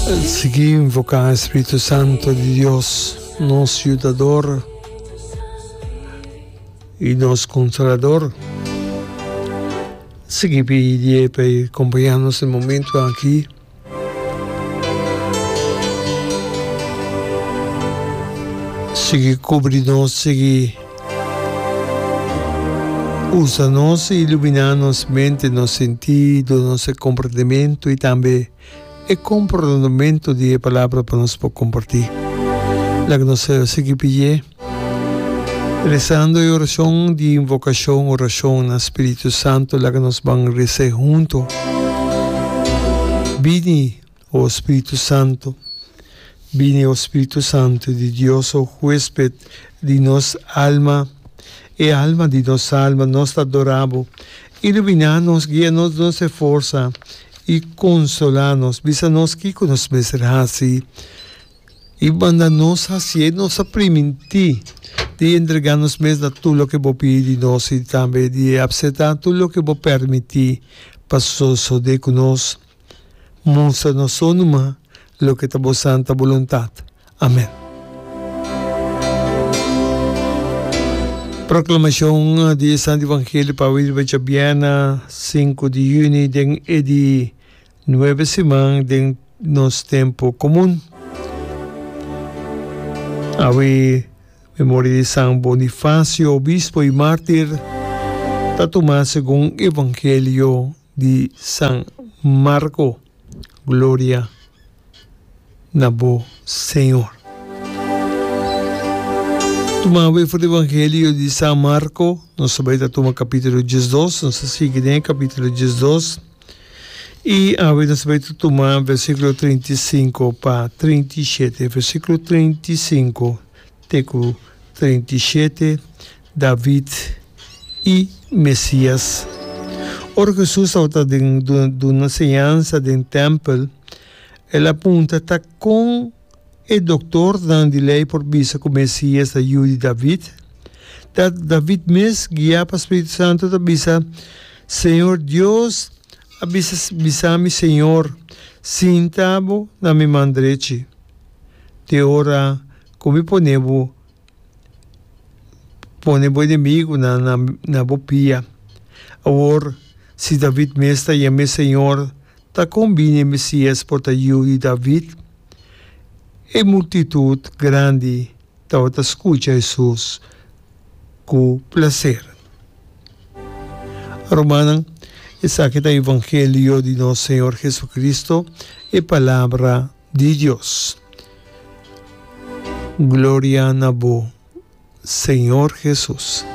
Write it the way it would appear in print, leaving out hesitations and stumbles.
Sigui invoká e Spiritu Santu di Dios, nos Yudador i nos Konsolador. Sigui pidié pa e kompañá nos den momentu aki. Sigui kubri nos, sigui usa nos i iluminá nos mente, nos sentido, nos komprendementu i tambe e komprondementu di e Palabra pa nos por kompartí. Laga nos sigui pidié, rezando e orashon di invokashon, orashon na Spiritu Santu, laga nos ban rez'é huntu. Bini, o Spiritu Santu, bini, o Spiritu Santu di Dios, o huesped di nos alma, e alma di nos alma, nos ta adorá bo. Iluminá nos, guia nos, duna nos e forsa i konsolá nos. Bisa nos kiko nos mester hasi i manda nos hasié. Nos a primintí di entregá nos mes na tur loke bo pidi di nos i tambe di apseptá tur loke bo permití pa sosodé ku nos. Mustra nos so numa loke ta bo santa boluntat. Amen. Proklamashon di e Santu Evangelio pa awe riba djabièrnè sinku di yüni den e di nuebe siman den nos tempu komun. Awe memoria di San Bonifacio, obispo i mártir, ta tumá segun Evangelio di San Marko. Gloria na bo, Señor. Tuma awe for di Evangelio di San Marko, nos ta bai ta tuma kapítulo 12, nos ta sigui den e kapítulo 12, i awe nos ta bai ta tuma versíkulo 35 pa 37, versíkulo 35 te ku 37. David i Mesias. Ora ku Hesus tabata den duna señansa den tèmpel, el a puntra ta kon e doktornan di lei por bisa ku Mesias ta yu di David. Ta David mes, guiá pa spiritu santu, ta bisa, Señor Dios a bisa bisa mi Señor, Sinta bo na mi man drechi, te ora ku mi pone bo Pone bo enemigunan na bo pia. Awor, si David mes ta yam'é Señor, ta kon bini e Mesías por ta yu di David? E multitut grandi tabata skucha Hesus ku plaser. Rumannan, esaki ta evangelio di nos Señor Jesucristo, e palabra di Dios. Gloria na bo, Señor Jesus.